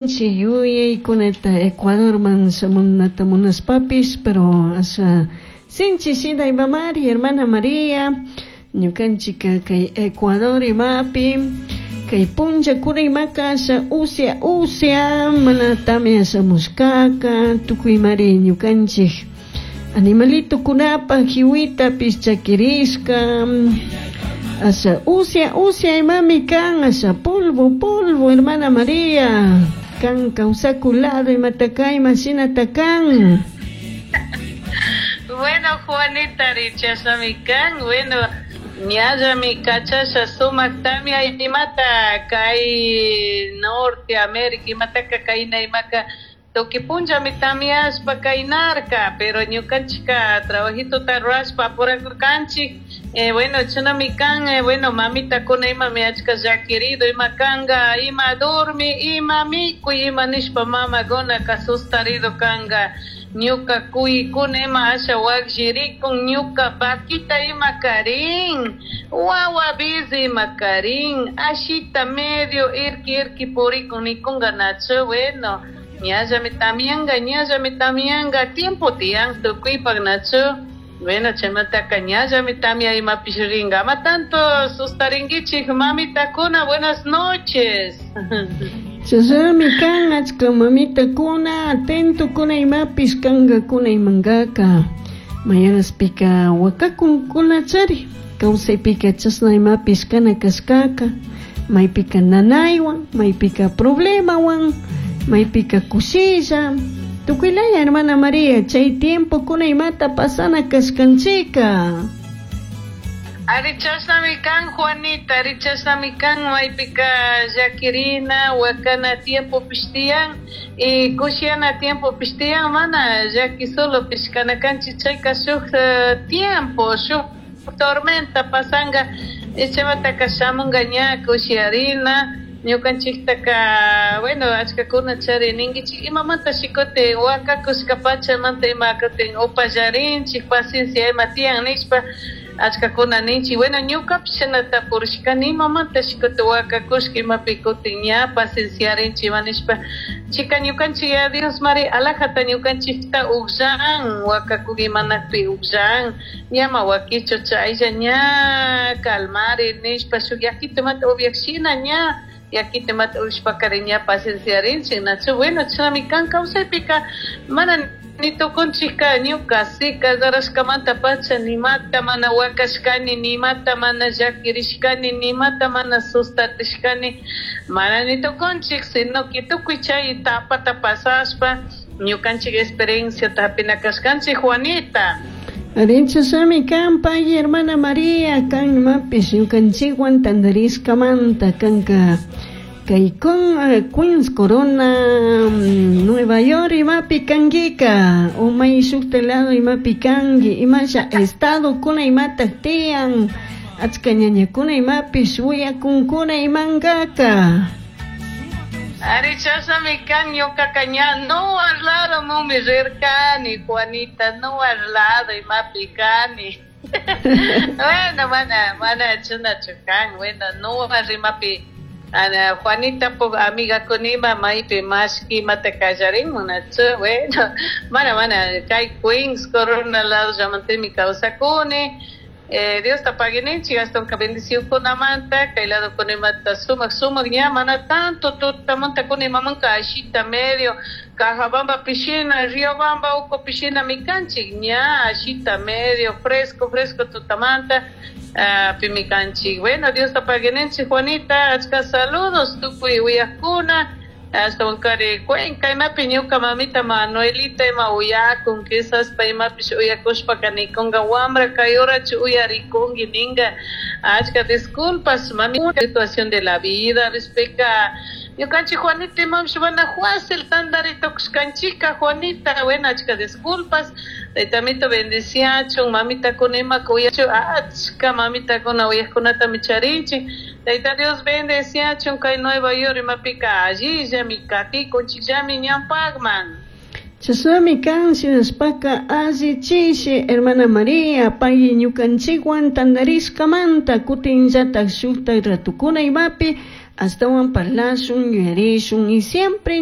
Yuyaykunata Ecuadorman shamunata munashpapish, pero asha sinchi shina imamari, hermana María, ñukanchika kay Ecuador imapi kay punllakuna imaka asha usya usya mana tamia shamushkaka, tukuymari ñukanchik animalitokunapaj hiwitapish chakirishka, asha usya usya imami kan, asha polvo polvo, hermana María, kan kawsaku lado imataka imashinata kan. Bueno, Juanita, chashnami kan, bueno, ñallami kachasha sumak tamia imata kay Norte América imataka kayna imaka tukuy punllami tamiashpa kaynarka, pero ñukanchika trabajitota rurashpa apurakurkanchik. Bueno, chashnami kan, bueno, mamitakuna imami achka llakirido ima kanka, ima dormi, ima mikuy, ima nishpa mamakunaka sustarido kanka, ñuka kuykuna ima asha wakllirikun, ñuka vaquita ima karin, wawa bizi ima karin, ashita medio irki irki purikun nikunka nachu, bueno, ñallami tamianka, ñallami tamianka, tiempo tiyan tukuypak nachu. Bueno, chaymantaka ñallami tamia imapish rinka, ama tanto sustarinkichik mamitakuna, buenas noches. Chashnami kan achka mamitakuna atentokuna imapish kankakuna imankaka, mayaraspika wakakunkunachari, kawsaypika chashna imapish kana kashkaka, maypika nanaywan, maypika problemawan, maypika kushilla, tukuylaya hermana María, chay tiempokuna imata pasana kashkanchika. Ari chashnami kan Juanita, ari chashnami kan maypika llakirina, wakana tiempopish tiyan, y kushiana tiempopish tiyan, mana llaki solopish kana kanchik, chayka shuk tiempo, shuk tormenta pasanka, chaymantaka shamunka ña kushiarina, ñukanchiktaka, bueno, achkakuna chari ninkichik imamanta shikutin wakakushka pachamanta ima kutin upallarinchik, paciencia ima tiyan nishpa achkakuna ninchik, bueno, ñukapish shinata purishkani imamanta shikutin wakakushka imapi kutin ña pacienciarinchik ima nishpa, chika ñukanchik ya Dios mari alajata ñukanchikta ukllan, wakakuk imanakpi ukllan, ñama wakichu chaylla ña calmari nishpa shuk yakito imata upiak shina ña yakito imata upishpakari ña pacienciarinchik nachu, bueno, chashnami kan kawsaypika mana ni tukunchikka ñuka si casarashkamanta pacha nimata mana wakashkani, nimata mana llakirishkani, nimata mana sustarishkani, mana ni tukunchik, sino que tukuy chay etapata pasashpa ñukanchik experienciata hapina kashkanchik, Juanita. Ari chashnami kan pay hermana María, kan imapish ñukanchikwan tantarishkamanta kanka kay con Queens Corona, Nueva York imapi kankika, o may shukta lado imapi kanki, imasha estado kuna imatak tiyan, achka ñañakuna imapish wiyakunkuna imankaka. Ari chashnami kan ñukaka ña no al lado mumi rirkani, Juanita, no al lado imapi kani. Bueno, mana, mana chashnachu kan, bueno, no imapi Ana Juanita po amiga kunima maypi mashki imata kallarinmun nachu, bueno, mana mana kay Queens Corona lado llamantimi kawsakuni, Diosta paguininchik ashtawanka bendicionkunamanta kay lado kunimata sumak sumak ña mana tanto tutamanta kunimamanka ashita medio Cajabamba pishina, Riobamba uku pishina mikanchik ña ashita medio fresco fresco tutamanta pimikanchik. Bueno, Diosta paguininchik Juanita, achka saludos tukuy uyakuna, ashtawankari Cuenca imapi ñuka mamita Manuelita ima uyakun, quizás pa imapish uyakushpaka nikunka wambra kay horachu uyarikunki ninka, achka disculpas mami, situación de la vida respecto ñukanchik Juanita imapish mana fácil tantari tukushkanchika Juanita, bueno, achka disculpas, taytamito bendiciachun, mamitakuna imaka uyachu, achka mamitakuna uyakkunatami charinchik, Tayta Dios bendeciachun kay Nueva York imapika allillami katikunchikllami ñampakman. Chashnami kan shinashpaka alli chishi hermana María pay ñukanchikwan tantarishkamanta kutinllatak shuktak ratukuna imapi. Ashtawan parlashun, yuyarishun y siempre.